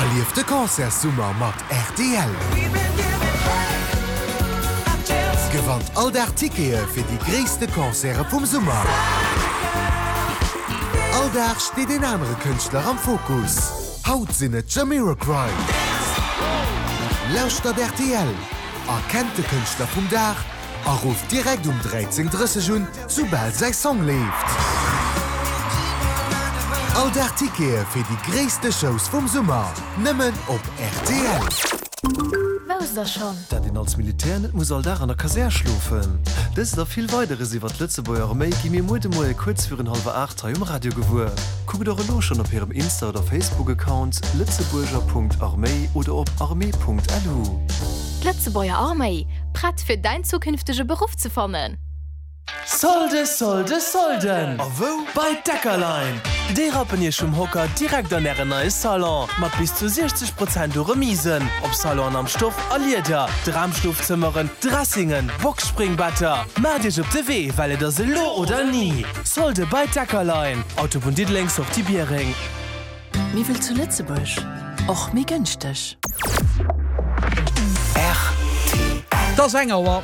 Erlieft de Concertssummer mat rtl! Gewannt all Dag Tickete fir déi gréisste Concerte vum Summer! All Dag steet een anere Kënschtler am Fokus. Haut sinn et Jamiroquai! Lauschtert rtl, erkennt de Kënschtler vum Dag a rufft direkt um 13:30 un, soubal säi Song leeft. All Dag Tickete fir déi gréisste Shows vum Summer, nëmmen op rtl. Wousst der schonn? Dat een als Militär net muss all Dag an der Kasär schlofen. Dëst a vill Weideres iwwer d'Lëtzebuerger Arméi gi mir muer de Moie kuerz virun hallwer 8 hei um Radio gewuer. Kuckt och elo schonn op hirem Insta oder Facebook-Account lëtzebuerger.arméi oder op armee.lu. D'Lëtzebuerger Arméi, prett fir däin zukünftege Beruff ze fannen! Solde, Solde, Solden! A wou? Bei Deckerlein! Déi rappen iech vum Hocker direkt an ären neie Salon, mat bis zu 60 Prozent u Remisen op Salonen am Stoff a Lieder, Dramschlofzëmmeren, Dressingen, Boxspringbetter. Maacht iech op de Wee, well et ass elo oder ni! Solde bei Deckerlein, Autobunn Diddeleng, Sortie Biereng. Miwwel zu Lëtzebuerg, och méi gënschteg. Et ass eng Auer.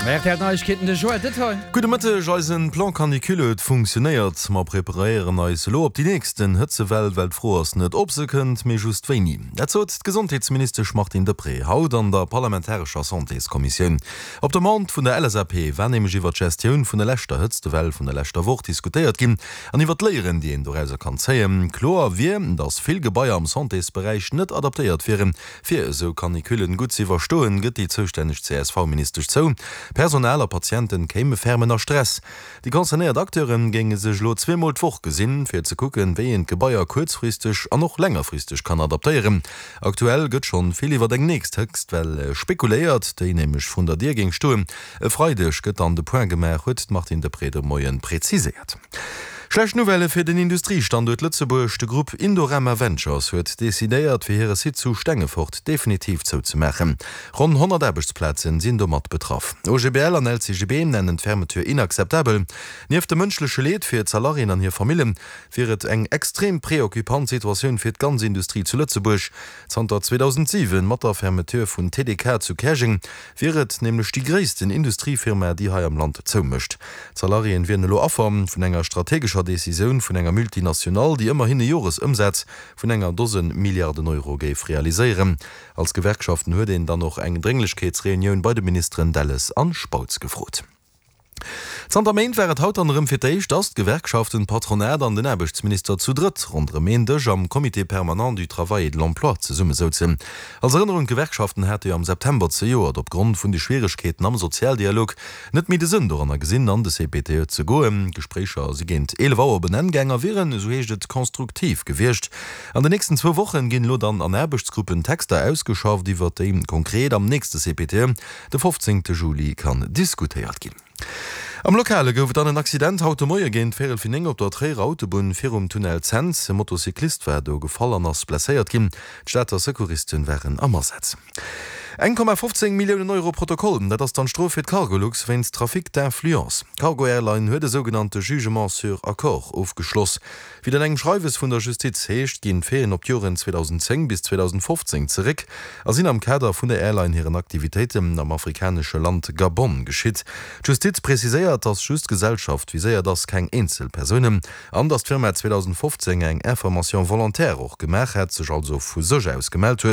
RTL Neiegkeeten, de Joël Detail. Gudde Mëtteg, Eisen Plan Canicule huet funktionéiert. Mer preparéieren eis elo op déi nächsten Hëtzewell, well d'Fro ass net ob se kënnt, mee just wéini. Dat sot d'Gesondheetsministesch Martine Deprez haut an der parlamentarescher Santéskommissioun. Op Demande vun der LSAP war nämlech iwwer d'Gestioun vun der leschter Hëtztewell vun der leschter Woch diskutéiert ginn an iwwer d'Léieren, déi een dorauser kann zéien. Kloer wier, datt vill Gebaier am Santésberäich net adaptéiert wieren, fir esou Canicullen gutt ze iwwerstoen, gëtt déi zoustänneg CSV-Ministesch zou. Personal a Patienten kéime ferm ënner Stress. Déi concernéiert Acteure géinge sech elo zweemol d'Woch gesinn, fir ze kucken, wéi een d'Gebaier kuerzfristeg an och längerfristeg kann adaptéieren. Aktuell gëtt schonn vill iwwer eng nächst Hëtztwell spekuléiert, déi nämlech vrun der Dier géing stoen. E Freideg gëtt dann de Point gemaach, huet d'Martine Deprez de Moien preziséiert. Schlecht Nouvellë fir den Industriestanduert Lëtzebuerg, De Grupp Indorama Ventures huet decidéiert, fir hire Site zu Stengefort definitiv zouzemaachen. Ronn 100 Aarbechtsplazen sinn domat betraff. OGBL an LCGB nennen d'Fermeture inakzeptabel. Nieft dem mënschleche Leed fir d'Salariéen an hir Famillen, wier et eng extrem preoccupant Situatioun fir d'ganz Industrie zu Lëtzebuerg. Zanter 2007, mat der Fermeture vun TDK zu Käerjeng, wier et nämlech déi gréissten Industriefirma, déi hei am Land zoumécht. D'Salariéen wieren elo Affer vun enger strategescher Decisioun vun enger Multinationale, déi ëmmerhin e Joresëmsaz vun enger Dosen Milliarden Euro géif realiséieren. Als Gewerkschaften huet een dann och eng Drénglechkeetsreunioun bei de Ministeren Delles an Spautz gefrot. Zanter Méint war et haut dann erëm fir d'éischt, dass d'Gewerkschaften, d'Patronat an den Aarbechtsminister zu drëtt ronderëm een Dësch am Comité permanent du travail et de l'emploi zesummesouzen. Als Erënnerung, D'Gewerkschaften hate jo am September zejoert opgrond vun de Schwieregkeeten am Sozialdialog net méi de Sënn doranner gesinn, an de CPTE ze goen. D'Gespréicher si géint 11 Auer op en Enn gaang a wieren, esou heescht et, konstruktiv gewiescht. An den nächsten zwou Wochen ginn elo dann an Aarbechtsgruppen Texter ausgeschafft, iwwert déi konkret am nächste CPTE de 15 Juli kann diskutéiert ginn. Am Lokale gouf et dann en Accident haut de Moie géint véierel fir 9 op der Tréierer Autobunn virum Tunnel Cents. E Motocyclist war do gefall an ass blesséiert ginn. D'Stater Secouristen waren am Asaz. 1,15 Milliounen Euro Protokoll, dat ass dann d'Strof fir d'Cargolux wéinst Trafic d'influence. D'Cargo Airline huet e sougenannte Jugement sur accord ofgeschloss. Wéi et an engem Schreiwes vun der Justiz heescht, ginn d'Faiten op d'Joren 2010 bis 2015 zeréck a sinn am Kader vun der Airline hiren Aktivitéiten am afrikanesche Land Gabon geschitt. D'Justiz preziséiert, datt just d'Gesellschaft viséiert ass, keng eenzel Persounen. An datt d'Firma 2015 eng Information volontaire och gemaach hätt, sech also vu sech aus gemellt huet.